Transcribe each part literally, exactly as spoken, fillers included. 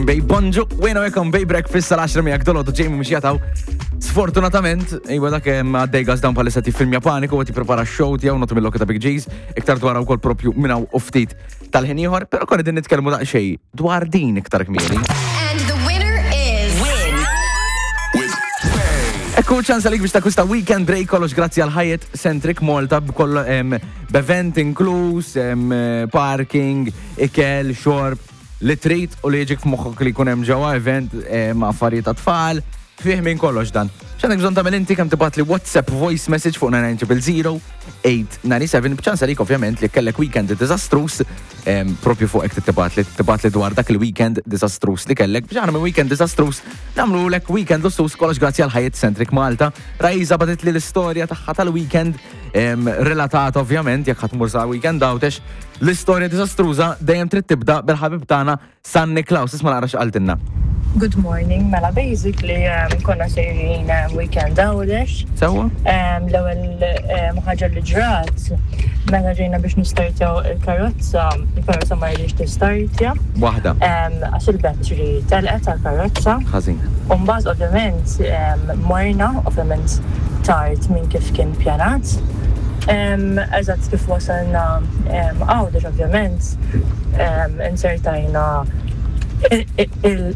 minn Bae. Bonġu, wejna welcome Bay Breakfast sal-għaxra miegħek dolodu Jamie mhux jataw. Sfortunatament, iwa dak hemm għaddej gas down bħalissa filmja Paniku u tipprepara show tiegħu notu mill ta' Big G's, iktar dwar ukoll propju minn hawn u ftit tal-ħin ieħor, però konna din nitkellmu daqsxejn dwar din iktar kmieni. And the winner is. Win. Ekku ċans għalik biex takkwista weekend break kollox grazzi għal Hyatt Centric Malta b'kollo em, b'event inkluż, em, parking, ikel, xorb, li trid u li jiġik f'moħħok li jkun hemm ġewwa event em, affarijiet ta' tfal, fih minn kollox dan. X'għandek bżonn tagħmel inti kemm tibgħat li WhatsApp voice message fuq nine nine zero zero eight nine seven b'ċans għalik ovvjament li kellek weekend diżastruż em, propju fuq hekk tibgħat li tibgħat li dwar dak il-weekend diżastruż li kellek biex aħna minn weekend diżastruż nagħmlu lek weekend lussuż, kollox grazzi għal Hyatt Centric Malta. Rajza bagħtet li l-istorja tagħha tal-weekend em, relatata ovvjament jekk ħa tmur sa weekend Għawdex, l-istorja diżastruża dejjem trid tibda bil-ħabib tagħna San Niklaus. Isma' naqra x'qaltilna. Good morning, mela basically um, konna sejrin um, weekend Għawdex. Sewwa? Um, L-ewwel um, ħaġa li ġrat, meta ġejna biex nistartjaw il-karozza, il-karozza ma rridx tistartja. Waħda. Um, Għax il-battery telqet tal-karozza. Ħażin. Umbagħad ovvjament um, morna, ovvjament tard minn kif kien pjanat. Um, Eżatt kif wasalna um, Għawdex ovvjament um, insertajna il-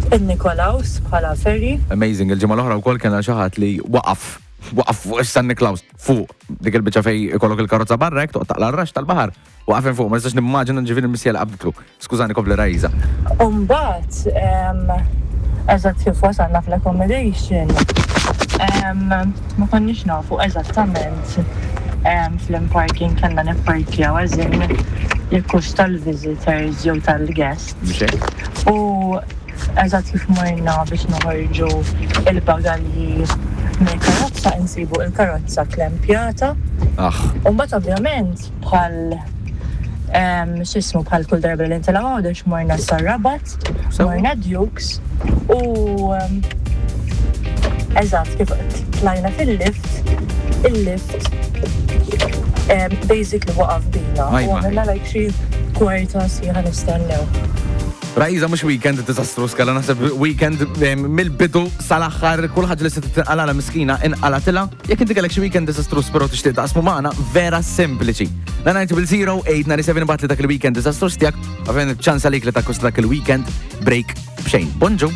il-Nikolaus bħala ferry. Amazing, il-ġimgħa l-oħra wkoll kellna xi ħadd li waqaf waqaf fuq San Niklaus fuq dik il-biċċa fej ikollok il-karozza barra hekk toqgħod taqla' r-rax tal-baħar. Waqaf fuq, ma nistax nimmaġina ġifieri l-missija li qabditlu. Skużani, kompli Rajza. Umbagħad, um, eżatt kif wasalna fl-accommodation, um, ma konniex nafu eżattament um, fl-parking kellna nipparkjaw eżin jekk hux tal-visitors jew tal-guests. Biex hekk? U eżatt kif morna biex noħorġu il-bagalji mill-karozza insibu il-karozza klempjata. Ah, Umbagħad ovvjament bħal em, x'ismu bħal kull darba li nitilgħu Għawdex morna sar-Rabat, Sewwa. morna Dukes u em, eżatt kif tlajna fil-lift, il-lift em, basically waqaf bina. U Ajma. għamilna like xi kwarta sieħa nistennew. Rajza mhux weekend diżastruż kellha, naħseb weekend em, mill-bidu sal-aħħar kull ħaġa li se tinqala miskina inqalatilha. Jekk inti kellek xi weekend diżastruż però tixtieq taqsmu magħna, vera sempliċi. nine nine zero zero eight nine seven bagħat li dak il-weekend diżastruż tiegħek, ovvjament ċans għalik li takkwista dak il-weekend break b'xejn. Bonġu.